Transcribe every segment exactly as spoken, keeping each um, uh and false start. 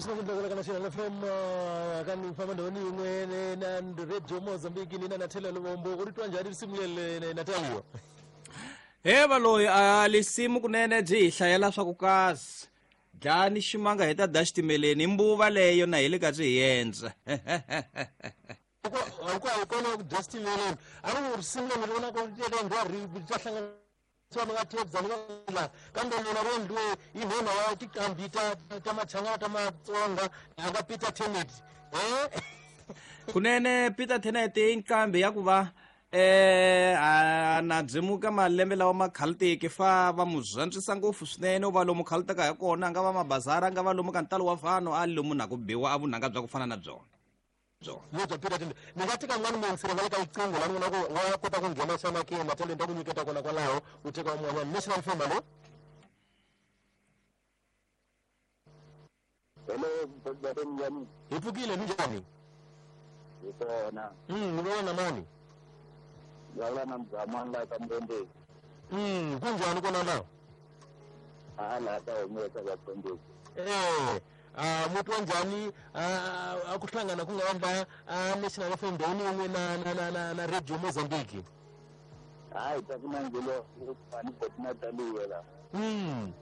leswi nga ku ka National F M ka ni famba ndhawini yin'we na Radio Mozambique ni na Natalia Luvombo u ri twa njhani risimu leri Natalia? He valoyi a lisimu kunene byi hi hlayela swa ku kasi dlani ximanga hi ta da xitimeleni mbuva leyo na hi le ka byi hi endla hinkwayo kona ku dya xitimeleni a ri risimu leri vonaka ri endliwa ri ta hlangana nga tebza la kambe lona ro endliwe hi nhona wa tiqambi ta ta machangana ta Matsonga a nga Peter Tenet. Kunene Peter Tenet i nqambi ya ku va eh a na byimuka malembe lawa ma khaluteke fa va mu zwantswisa ngopfu swinene u va lomu khalutaka hi kona a nga va mabazara a nga va lomu ka ntalo wa vanhu a lomu na ku biwa a vunanga bya ku fana na byona yo bya Peter Tenet. Ni nga teka n'wana muyingiseri nga le ka riqingho la ni vona ku wa kota ku nghena xana ke Natalia ni ta ku nyiketa kona kwalaho u teka un'wanyana. National F M, hallo. Hello, njhani? Hi pfukile, ni njhani? Hi kona. Mm, ni vona na mani? Vulavula na Mzamani laha ka Mbondeni. Mm, kunjhani kona laha? A laha ka humesa ka Mbondeni. Eh, a muti wa njhani a ku hlangana ku nga va a National F M ndhawini yin'we na na na na na Radio Mozambique? Hayi, ta ku nandzelo ni boti Natalia la. Mm.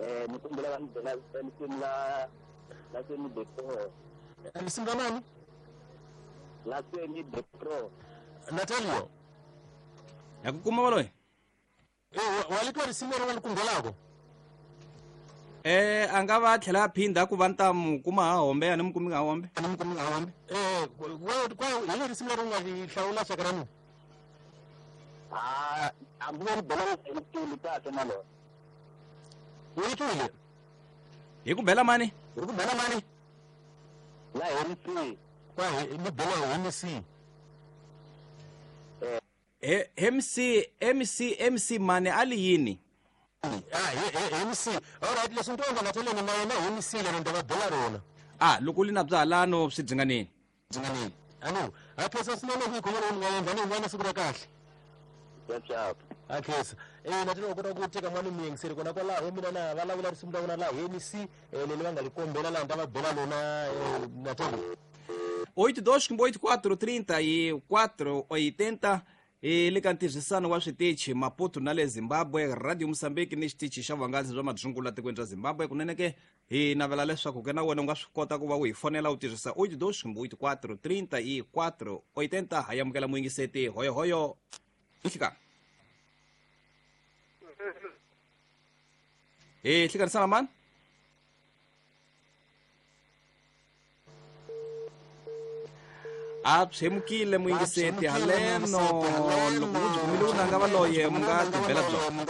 Eh, ni kombela va ni byela risimu la la Semi the Pro. Risimu la mani? La Semi the Pro. Natalia ya ku kuma valoyi? Eh, wa li twa risimu leri va li kumbelako? Eh, a nga va tlhela a phindha ku va ni ta mu kuma ha hombe a ni mu kumi ha hombe. A ni mu kumi ha hombe. Eh, kwa hi le risimu leri u nga ri hlawula xaka ra mina? Ah, hambi va ri bela ri kahle na lona. U yi twile? Hi ku bela mani? Hi ku bela mani? La M C. Kwa hi ni bela M C. Eh, M C M C M C mani a li yini? Ah, M C. All right, leswi ni to Natalia ni na yena M C leri ni ta va bela rona. Ah, loko li na bya halano swi dzinganeni. Dzinganeni. Ano, a phesa swinene ku yi khomela u nga endla ni n'wana siku ra kahle. Xap. A khensa. Eh, Natalia u kota ku teka n'wana muyingiseri kona kwalaho mina na vulavula risimu ra vona la M C leri va nga li kombela laha ni ta va bela lona Natalia. oito dois oito quatro trinta e quatro oitenta hi le ka ntirhisano wa switichi Maputo na le Zimbabwe, Radio Mozambique ni xitichi xa vuhangalasi bya madzungu la tikweni ra Zimbabwe. Kunene ke hi navela leswaku ke na wena u nga swi kota ku va u hi fonela u tirhisa oito dois oito quatro trinta e quatro oitenta. Ha amukela muyingiseti hoyohoyo nhlikani. Hi hlikanisana mani? A tshemukile muyingiseti haleno loko u byi kumile vunanga valoye mu nga tibela byona.